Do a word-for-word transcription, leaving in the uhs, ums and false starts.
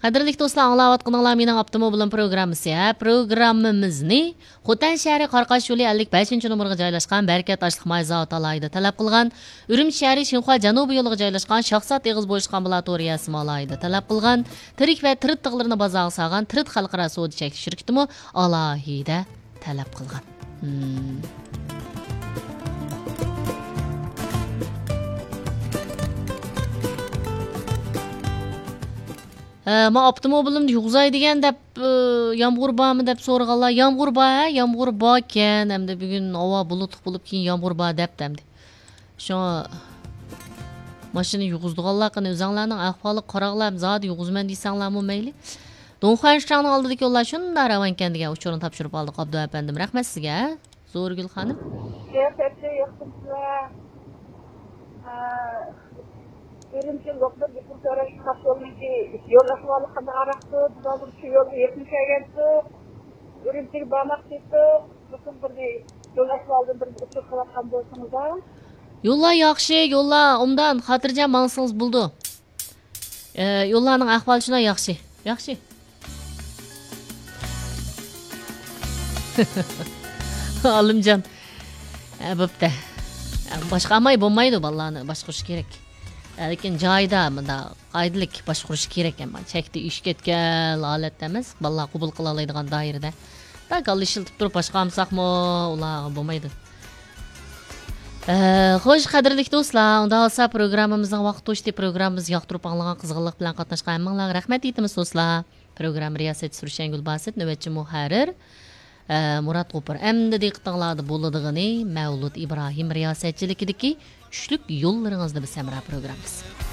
قەدىرلىك دوستلار، ئاڭلاۋاتقىنىڭلار مېنىڭ ئاپتوموبىلىم پروگراممىسى. ھە، پروگراممىمىزنى خوتەن شەھىرى قاراقاش يولى ئەللىك بەشىنچى نومۇرغا جايلاشقان بەرىكەت ئاشلىق ماي زاۋۇتى ئالاھىدە تەلەپ قىلغان. ئۈرۈمچى شەھىرى شىنخۇا جەنۇبىي يولىغا جايلاشقان شاخسات ئېغىز بوشلۇقى ئامبۇلاتورىيەسىمۇ ئالاھىدە تەلەپ قىلغان. تىرىك ۋە تىرىت تىغلىرىنى بازارغا سالغان تىرىت خەلقئارا سودا چەكلىك شىركىتىمۇ ئالاھىدە تەلەپ قىلغان. مم. ھە، ما ئاپتوموبىلىمنى يۇغۇزاي دېگەن دەپ، ئى، يامغۇر بارمۇ دەپ سورىغانلار. يامغۇر بار، ھە، يامغۇر باركەن. ئەمدى بۈگۈن ھاۋا بۇلۇتلۇق بولۇپ، كېيىن يامغۇر بار دەپتۇ ئەمدى. شۇڭا ماشىنا يۇغۇزىدىغانلار قېنى ئۆزەڭلارنىڭ ئەھۋالىغا قاراڭلار، زادى يۇغۇزىمەن دېسەڭلارمۇ مەيلى. دۇڭخۇەن شىچاڭنىڭ ئالدىدىكى يوللار شۇنداق راۋانكەن دېگەن ئۇچۇرنى تاپشۇرۇپ ئالدۇق، ئابدۇ ئەپەندىم. رەھمەت سىزگە، ھە؟ زورىگۈل خانىم. سىياسەتچى ياخشىمۇسىلەر؟ ئە، ئۈرۈمچى لوقمىدىن يۇقىرى تۆرەك تاپشۇرۇۋالمىدى. يول ئەھۋالى قانداق ئارقىدۇ؟ بىز ھازىر شۇ يولغا يېقىن كەلگەنتۇق. ئۈرۈمچىگە بارماقچى ئىدۇق. لېكىن بىر يول ئەھۋالىدىن بىر ئۇچۇر قىلىۋاتقان بولسىڭىزدا. يوللار ياخشى، يوللار ئوبدان، خاتىرجەم ماڭسىڭىز بولىدۇ. ئە، يوللارنىڭ ئەھۋالى شۇنداق ياخشى. ياخشى. ئالىمجان. ئە، بوپتۇ. ئە، باشقا ئامال بولمايدۇ، بالىلارنى باشقۇرۇش كېرەك. ئە، لېكىن جايىدا مۇنداق قائىدىلىك باشقۇرۇش كېرەك، ئەمما چەكتە ئېشىپ كەتكەن ھالەتتە ئەمەس، بالىلار قوبۇل قىلالايدىغان دائىرىدە. بەك كاللا ئىشلىتىپ تۇرۇپ باشقا ئالمىساقمۇ ئۇلارغا بولمايدۇ. ئە، خوش، قەدىرلىك دوستلار، ئۇنداق بولسا پروگراممىمىزنىڭ ۋاقتى توشتى. پروگراممىمىزنى ياقتۇرۇپ ئاڭلىغان، قىزغىنلىق بىلەن قاتناشقان ھەممىڭلارغا رەھمەت ئېيتىمىز، دوستلار. پروگرامما رىياسەتچىسى رۇشەنگۈل باسىت، نۆۋەتچى مۇھەررىر، ئە، مۇرات غوپۇر. ئەمدى دىققىتىڭلاردا بولىدىغىنى مەۋلۇت ئىبراھىم رىياسەتچىلىكىدىكى چۈشلۈك يوللىرىڭىزدا بىز ھەمراھ پروگراممىسى.